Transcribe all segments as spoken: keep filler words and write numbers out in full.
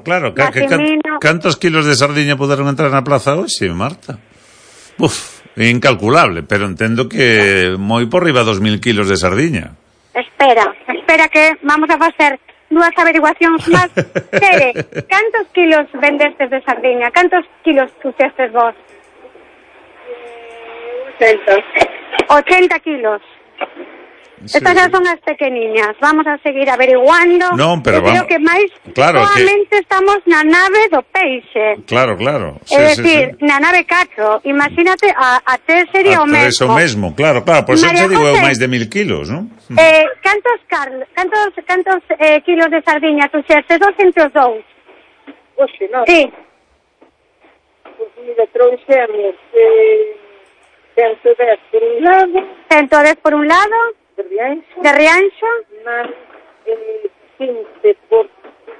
claro. Ca, que, can, cantos kilos de sardiña poderon entrar na plaza hoxe, Marta? Uf, incalculable, pero entendo que moi por riba dos mil kilos de sardiña. Espera, espera que vamos a facer dúas averiguacións máis. Tere, cantos kilos vendestes de sardiña? Cantos kilos puxestes vos? ochenta. ochenta kilos. Sí, Estas sí. son as pequeniñas. Vamos a seguir averiguando. Non, pero Eu creo vamos... que máis claro, solamente que... estamos na nave do peixe. Claro, claro. Sí, é dicir, sí, sí. na nave catro. Imagínate, a, a tres sería a o mesmo. A tres o mesmo, claro, claro. Por eso te digo eu máis de mil kilos, non? Eh, cantos, Carl, cantos, cantos eh, kilos de sardiña tu xertes? Dos entre os dous. Oxe, non? Sí. Pues mira, trouxemos eh, ciento dez por un lado. ciento dez por un lado. De Rianxo. De Rianxo. Más eh, quince por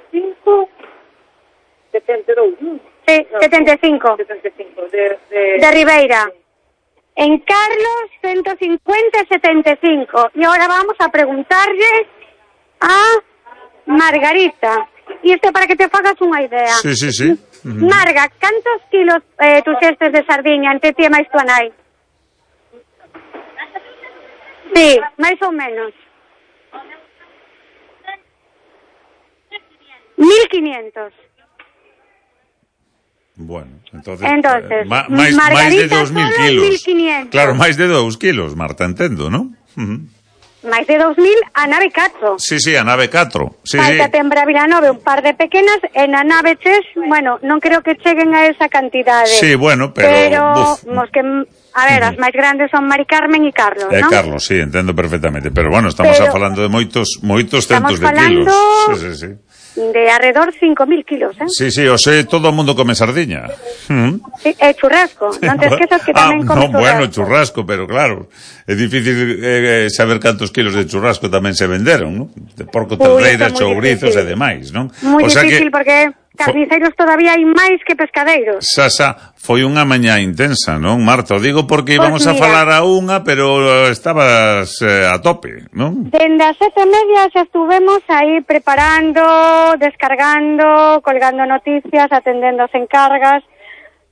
cinco. setenta e dous, non? Sí, no, setenta e cinco. setenta e cinco. De, de... de Ribeira. En Carlos, ciento cincuenta y setenta y cinco. Y ahora vamos a preguntarle a Margarita. Y esto para que te hagas una idea. Sí, sí, sí. Uh-huh. Marga, ¿cuántos kilos eh, tus cestes de sardiña entre ti e máis tu anai? Sí, máis ou menos. Mil quinientos. Bueno, entonces, entonces eh, ma, máis, máis de dos mil kilos. mil quinientos. Claro, máis de dous kilos, Marta, entendo, non? Uh-huh. Máis de dous mil a nave catro. Sí, sí, a nave catro. Sí, Falta sí. tembra Vilanove un par de pequenas, e na nave tres, bueno, non creo que cheguen a esa cantidade. Sí, bueno, pero... Pero, mos que, a ver, uh-huh. as máis grandes son Mari Carmen e Carlos, eh, non? Carlos, sí, entendo perfectamente. Pero, bueno, estamos pero, falando de moitos moitos centos de kilos. Sí, sí, sí. De alrededor cinco mil kilos, eh? Sí, sí, o sea, todo o mundo come sardiña. Mm. Sí, é churrasco, non te esquezas que tamén ah, come no, churrasco. Bueno, churrasco, pero claro, é difícil eh, saber cantos kilos de churrasco tamén se venderon, non? De porco, terreiras, chourizos e demais, non? Moi o sea difícil que... porque carniceiros todavía hai máis que pescadeiros. Xa, xa, foi unha mañá intensa, non, Marta? O digo porque íbamos pues a falar a unha, pero estabas eh, a tope, non? Dende as sete e media xa estuvemos aí preparando, descargando, colgando noticias, atendendo as encargas.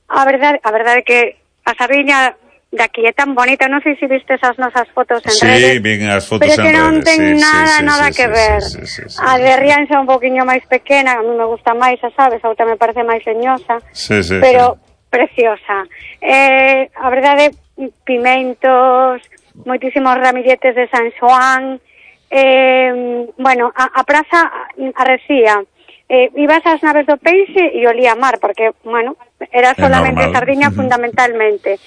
A verdade, a verdade é que a sardiña de aquí é tan bonita, non sei se viste esas nosas fotos en sí, redes. Sí, vin as fotos en redes. Pero que non ten sí, nada, sí, sí, nada sí, que sí, ver. Sí, sí, sí, sí, a de Rianxa un poquinho máis pequena, a mí me gusta máis, a sabes, a outra me parece máis leñosa. Sí, sí, pero sí. Preciosa. Eh, a verdade, pimentos, moitísimos ramilletes de San Xoán, eh, bueno, a, a praza arrecía. Eh, ibas ás naves do peixe e olía a mar, porque, bueno, era solamente sardiña uh-huh. fundamentalmente.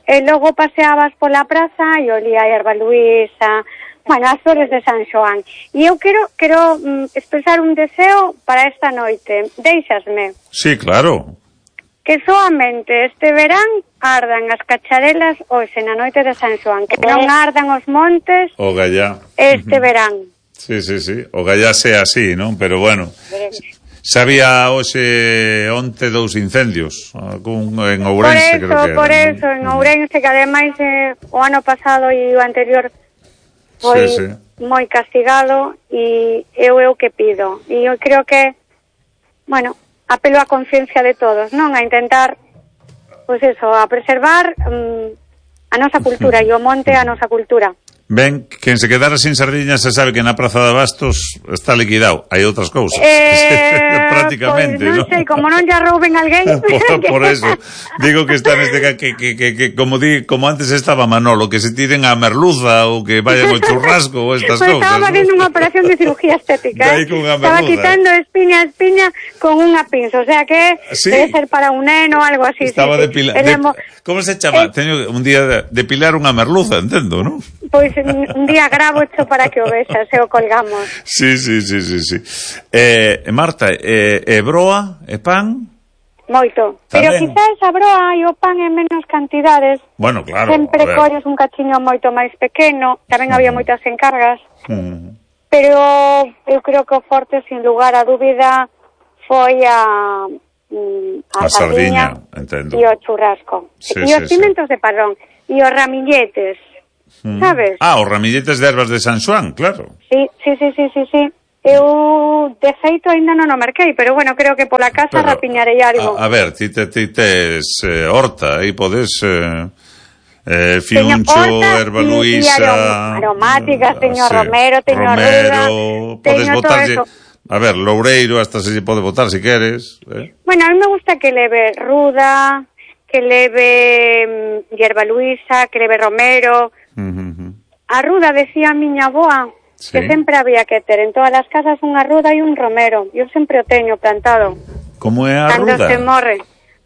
E logo paseabas pola praza e olía a erva luisa, bueno, as flores de San Xoán. E eu quero, quero mm, expresar un deseo para esta noite. Deixasme. Sí, claro. Que soamente este verán ardan as cacharelas hoxe na noite de San Xoán, que non ardan os montes o gallá este uh-huh. verán. Sí, sí, sí, o gallá sea así, non? Pero bueno, sabía hoxe onte dous incendios algún, en Ourense, por eso, creo que por era, eso, ¿no? En Ourense, que ademais eh, o ano pasado e o anterior foi sí, sí. moi castigado, e eu eu que pido. E eu creo que, bueno, apelo á conciencia de todos, non? A intentar, pois pues eso, a preservar um, a nosa cultura e o monte a nosa cultura. Ben, quen se quedara sin sardiñas se sabe que na Praza de Abastos está liquidado. Hai outras cousas. Eh, prácticamente, pues non, non sei, como non ya rouben alguén. por, por eso, digo que está neste que, que, que, que como di, como antes estaba Manolo, que se tiren a merluza ou que vayan ao churrasco ou estas pues cousas. Estaba facendo unha operación de cirugía estética, eh? Estaba quitando espiña a espiña con unha pinza, o sea que ¿sí? Debe ser para un neno o algo así. Estaba sí, depilando. Sí. De, ¿Cómo se chama? Eh, Teño un día de depilar unha merluza, entendo, non? Pois pues, un día gravo hecho para que o vexas e o colgamos. Sí, sí, sí, sí, sí. Eh, Marta, eh, e broa e pan? Moito. Pero quizás a broa e o pan en menos cantidades. Bueno, claro. Sempre colles un cachiño moito máis pequeno, tamén uh-huh. había moitas encargas. Uh-huh. Pero eu creo que o forte, sin lugar a dúbida, foi a a, a sardiña, entendo. E o churrasco. Sí, e sí, os pimentos sí. de padrón. E os ramilletes. Mm. ¿Sabes? Ah, os ramilletes de ervas de San Xoán, claro. Sí, sí, sí, sí, sí, sí. Eu, de feito, ainda non o marquei, pero bueno, creo que pola casa Pero, rapiñarei algo. A, a ver, ti, te, ti tes eh, horta, aí podes... Eh, eh, fiuncho, erva luisa... aromáticas, teño sí, romero, teño romero, ruda, podes teño botarlle... todo eso. A ver, loureiro, hasta se lle pode botar si queres. Eh? Bueno, a mí me gusta que leve ruda, que leve mm, hierba luisa, que leve romero. Uh -huh. A ruda, decía a miña avoa, sí. que sempre había que ter en todas as casas unha ruda e un romero. Eu sempre o teño plantado. Como é a Cando ruda? se morre.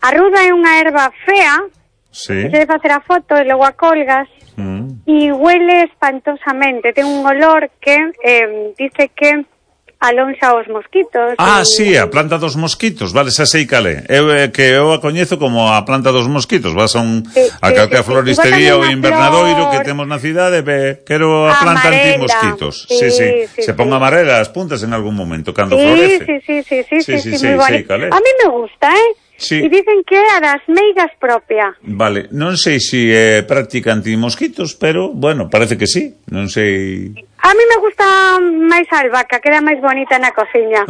A ruda é unha erva fea, sí. que se debe facer a foto e logo a colgas, mm. e huele espantosamente. Ten un olor que eh, dice que alonxa os mosquitos. Ah, e... sí, a planta dos mosquitos, vale, xa sei calé. Eu eh, que eu a coñezo como a planta dos mosquitos. Vas a un sí, a sí, calquera sí, floristería sí. ou invernadoiro que temos na cidade, ve, quero a planta amarela. anti-mosquitos. Sí, sí, sí. sí, Se sí. pon amarela as puntas en algún momento cando sí, florece. Sí, sí, sí, sí, sí, sí, sí, sí, moi sei bonito. calé. A mí me gusta, eh? Sí. E dicen que é a das meigas propia. Vale, non sei se é práctica anti-mosquitos, pero, bueno, parece que sí. Non sei... A mí me gusta máis a albahaca, queda máis bonita na cociña.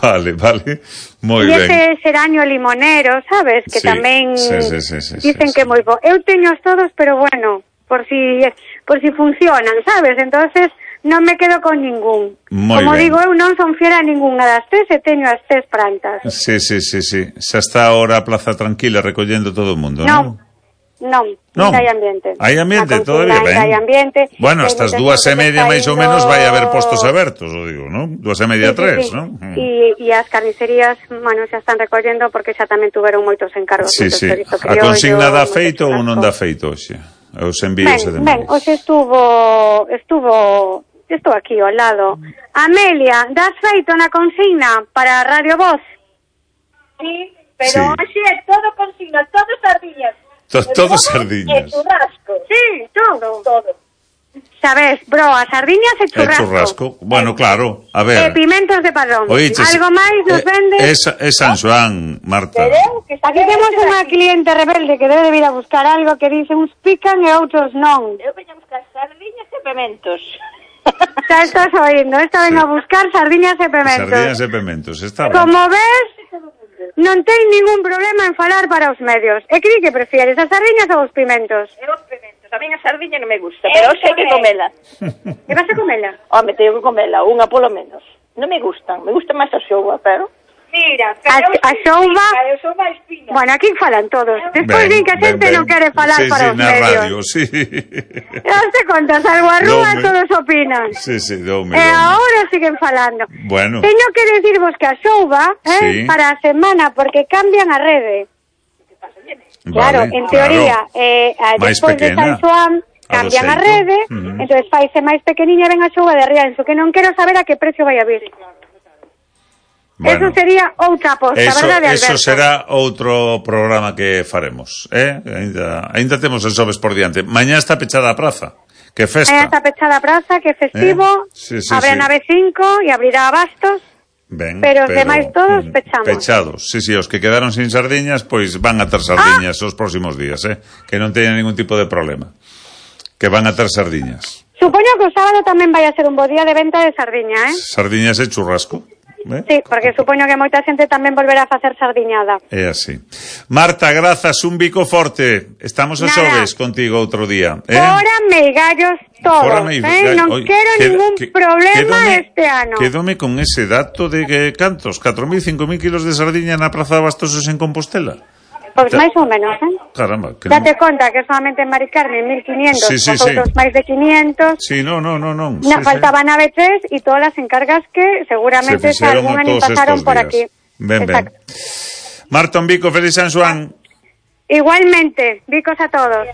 Vale, vale, moi e ben. ese xeraño limonero, sabes? Que sí, tamén sí, sí, sí, sí, dicen sí, que é sí. moi bo. Eu teño todos, pero bueno, por si por si funcionan, sabes? Entonces non me quedo con ningún. Moi Como ben. digo, eu non son fiera a ninguna das tres e teño as tres plantas. Sí, sí, sí, sí. Xa está ahora a plaza tranquila recollendo todo o mundo, non? Non, non. non, hai ambiente. Hai ambiente, Na todavía cocina, ben. Hai ambiente. Bueno, hasta as dúas e media máis ou menos vai haber postos abertos. abertos, o digo, non? Dúas e media, Sí, sí, tres, sí. non? E, e as carnicerías, bueno, xa están recollendo porque xa tamén tuveron moitos encargos. Sí, moitos sí. chorizo A criollo, consigna dá moito feito ou churrasco. non dá feito hoxe? Os envíos e Ben, demais. ben, hoxe estuvo, estuvo, estou aquí ao lado. Amelia, das feito na consigna para Radio Voz? Sí, pero Sí. hoxe é todo consigna, todo sardiñas. To, E todo todo sardiñas. E churrasco. Sí, todo. Todo. Sabes, bro, a sardiñas e E churrasco. churrasco. Bueno, claro, a E ver. pimentos de padrón. Oíches, Algo máis nos eh, vende? É é San Xoán, Marta. Pero eu que Aquí temos unha cliente rebelde que debe de vir a buscar algo que dice uns pican e outros non. Eu veño a buscar sardiñas e pementos. Xa estás oindo, esta ven Sí. a buscar sardiñas e pimentos. Sardiñas e pementos, está ben. Como ves, non ten ningún problema en falar para os medios. E que di que prefieres, as sardiñas ou os pimentos? E os pementos. A mí a sardiña non me gusta, pero hoxe hai que comela. E vas a comela? Home, teño que comela, unha polo menos. Non me gustan, me gusta máis a xouba, pero... Mira, A, a xouba... eu sou máis fina. Bueno, aquí falan todos. Despois Ben, din que a xente ben, ben. non quere falar sí, para sí, os na medios. radio, sí. Non te contas, algo a rúa Dome. todos opinan. Sí, sí, dome, E dome. agora siguen falando. Bueno. Teño que decirvos que a xouba eh, Sí. para a semana, porque cambian a rede. Claro, Vale, en teoría, claro. eh, a- Máis despois de pequena. San Xoán, A do cambian a xeito. rede, Ujú. entonces faise máis pequeniña e ven a xouba de Rianxo, que non quero saber a que precio vai a vir. Bueno. Eso sería outra aposta, Eso, verdade, Alberto? eso será outro programa que faremos, eh? Ainda, ainda temos el xoves por diante. Mañá está pechada a praza. Que festa. Aí está pechada a praza, que é festivo, Eh? Sí, sí, abre sí. a nave cinco e abrirá a Bastos. Ben, Pero os demais todos mm, pechamos. Pechados. Sí, sí, os que quedaron sin sardiñas, pois van a ter sardiñas os próximos días, eh? Que non teñan ningún tipo de problema. Que van a ter sardiñas. Supoño que o sábado tamén vai a ser un bo día de venta de sardiña, eh? Sardiñas e churrasco. Eh? Sí, porque supoño que moita xente tamén volverá a facer sardiñada. É así. Marta, grazas, un bico forte. Estamos a Nada. xoves contigo outro día. Eh? Fora meigallos todos, Fora me- eh? Non Oi, quero queda- ningún que- problema quedome- este ano. Quedome con ese dato de que cantos, catro mil, cinco mil kilos de sardiña na Praza de Bastosos en Compostela. Pois Ta- máis ou menos, eh? Caramba, que Date non... conta que solamente en Mari Carmen mil quinientos, Sí, sí, os outros sí. máis de quinientos. Sí, no, no, no, no. Na, sí, faltaba nave tres e todas as encargas que seguramente Se xa fixeron algunha a nin todos pasaron estos por días. aquí. Ben, ben. Exacto. Marta, un bico, feliz San Xoán. Igualmente, bicos a todos.